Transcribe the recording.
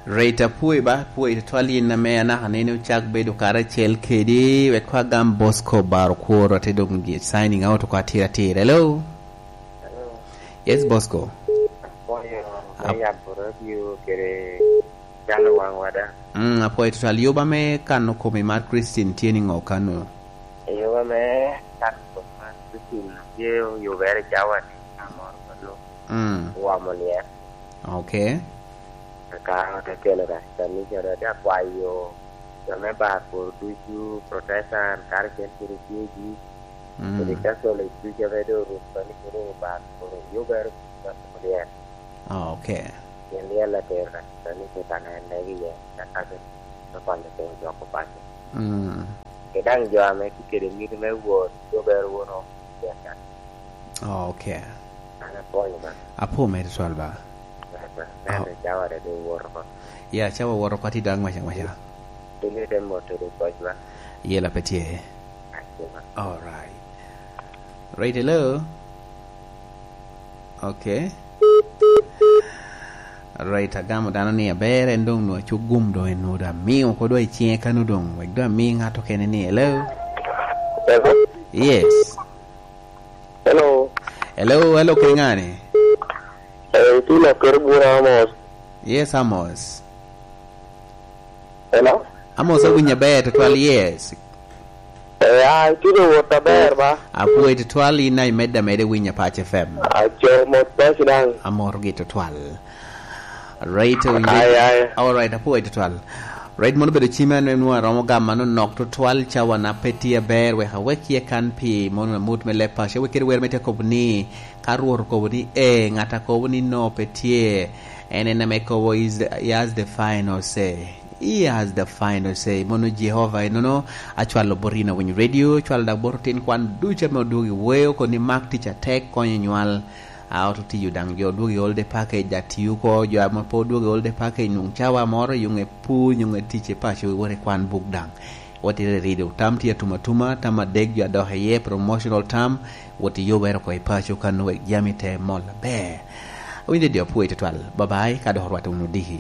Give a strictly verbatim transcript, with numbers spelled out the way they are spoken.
Reta pwoyo ba, pwoyo tutwal yin ame anaka nene ocak bedo karacel kedi, wek kwa gam Bosco Bar Okwor, ate dong gi signing out kwa tira tira. Hello? Hello? Yes, Bosco. Apwoyo me Ap- yabo radio kede calo wang wada. Mm, apwoyo tutwal. Yoba me kano komi mar Christine tye ni ngo kano? Yoba me kano komi mar Christine tye yubere cawa ni amor kano. Mm. Wamo lyer. Okay. Ka ote kelo ka kanisa dok te akwayo jo me bar pworo ducu, Protestant, karacel kede J G, mm, kede Catholic ducu ame doŋ orumo ni kede bar pworo yubere ducu a Kolorian. Ah, okay. Pien lyel atero ka kanisa ni kit ame en megi iye, ka kake me kwalo piny dok opaco. Mm. Kede daŋ jo ame tye kede mito me wot, yubere wunu. Oh, okay. An apwonyo ba. Apwo mere twal ba. Ba, ba. Neno cawa dede owoto oko. Ya, cawa owoto oko, ati daŋ ŋweca ŋweca. Piny ite moto de koc ba. Yela pe tye. Ati ba. All right. Right, hello. Okay. Right, agamo dano ni aber, en doŋ nwa cuk gum doŋ en nwa doŋ amiŋo ko doŋ i ciŋe kano doŋ, wek doŋ ami ŋat okene ni, hello? Hello? Yes. Hello. Hello, hello, kede ŋa ni? Eh, itye lok kede bura Amos. Yes, Amos. Hello? Amos, awinyo aber tutwal, yes. Eh, ah, itye wot aber ba? Apwoyo tutwal, in a imedde ameda iwinyo Pac F M. Aco, mot paci daŋ. Amor gi tutwal. Right, owinjo. Ai, ai. All right, apwoyo tutwal. Right, mono obedo cim en, en nwa romo gamo manok tutwal, cawa na pe tye aber, wek awek iye kan pi mono amut me leb paco, wek kede wer me te kobo ni, ka Rwot okobo ni, "Ee," ŋat a kobo ni, "No, pe tye," en en ame kobo, is the, he has the final say. He has the final say. Mono Jehovah enono acwalo bot in awinyo radio, cwalo dak bot otin kwan ducu ame odwogo i weo, koni mak tic atek, konyo nywal. A, ot otiyo daŋ, jo odwogo i holiday package, dak tiyo oko, jo ame pe odwogo i holiday package, nwoŋ cawa moro, yuŋ e pur, yuŋ e tic i paco, iwot ikwan buk daŋ. Wot irirido, tam tye atum atuma, tam adek jo adok iye, promotional tam, wot iyubere oko i paco kano wek jami te mol aber. Awinyo didi apwoyo tutwal. Bye bye, ka dok orwatte wunu odiki.